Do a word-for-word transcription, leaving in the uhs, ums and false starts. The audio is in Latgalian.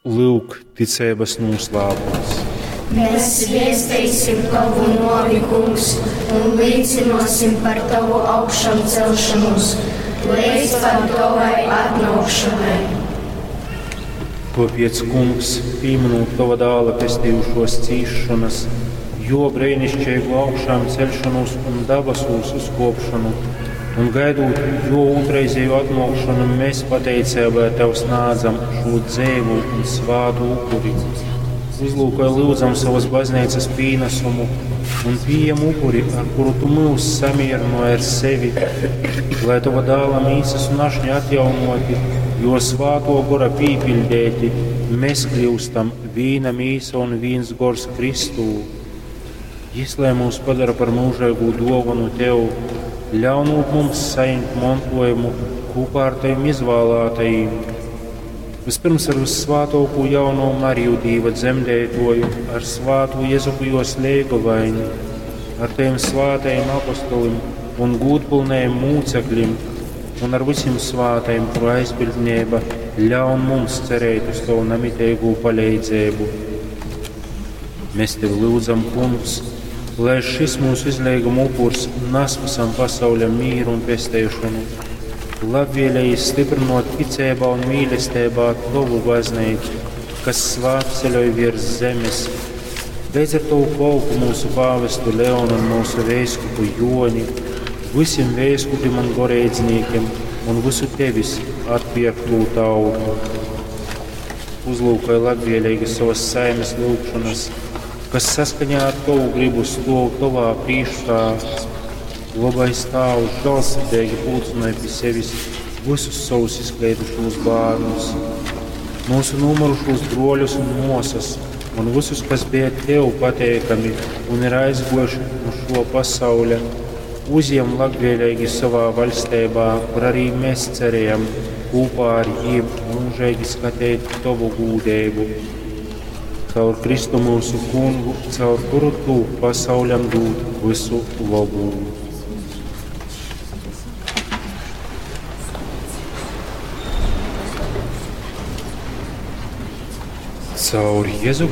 Lyuk, ticeibas nūslāpums. Mēs viesteisim Tavu nuovi, Kungs, un līcinosim par Tavu augšamcelšanos leidz pat Tovai atnōkšanai. Tāpēc, Kungs, pīminūt Tava dāla pestījušos cīšanas, jo brēnišķīgu augšām celšanos un dabasūs uzkopšanu, un gaidot jo otrreizēju atnākšanu, mēs pateicībā Tev snādzam šo dzēvu un svātu upuri. Uzlūkoj lūdzam savas baznīcas pīnesumu un pieņem upuri, ar kuru Tu mūs samierināji ar sevi, lai Tava dāla mīsas un ašņa atjaunoti, jo svāto gora pīpildēti, mēs kļūstam vīna mīsa un vīns gors Kristū. Jis, lai mūs padara par mūžīgu dāvanu Tev, ļaunot mums saņemt mantojumu kopā ar Tavim izvēlētajiem. Vispirms ar vissvātāko jauno Mariju Dīva dzemdētoju, ar svāto Jezupu jos leigovaini, ar Taviem svātajiem apostolim un gūdpilnējiem mūcekļiem, un ar visiem svātajiem, kuru aizbildnība ļaun mums cerēt uz Tavu namitīgo palīdzību. Mēs Tevi lūdzam, Kungs, lai šis mūsu izlīguma upurs nes visam pasauļam mīru un pesteišanu, labvēlīgi stiprinot ticībā un mīlestībā Tavu baznīcu, kas svētceļoj virs zemes. Beidz ar Tavu kolpu mūsu pāvestu Leonu un mūsu vēskupu Joni, visiem vēskupiem un goreidzīniekiem un visu Tevis atpirkto tautu. Uzlūkoj labvēlīgi savas saimes lūgšanas, kas saskaņā ar Tavu gribu stāv Tavā priekšā. Labais Tēvs žēlsirdīgi pulcināja pie sevis visus savus izkleidušos bērnus, mūsu nomirušos broļus un māsas, un visus, kas bija Tev pateikami un ir aizgojuši no šo pasauļa, uzņem labvēlīgi savā valstībā, kur arī mēs cerējam kopā ar jiem mūžīgi skatīt Tavu gūdību. Caur Kristu mūsu kungu, caur kuru Tu pasauļam dod visu labu. Caur Jēzu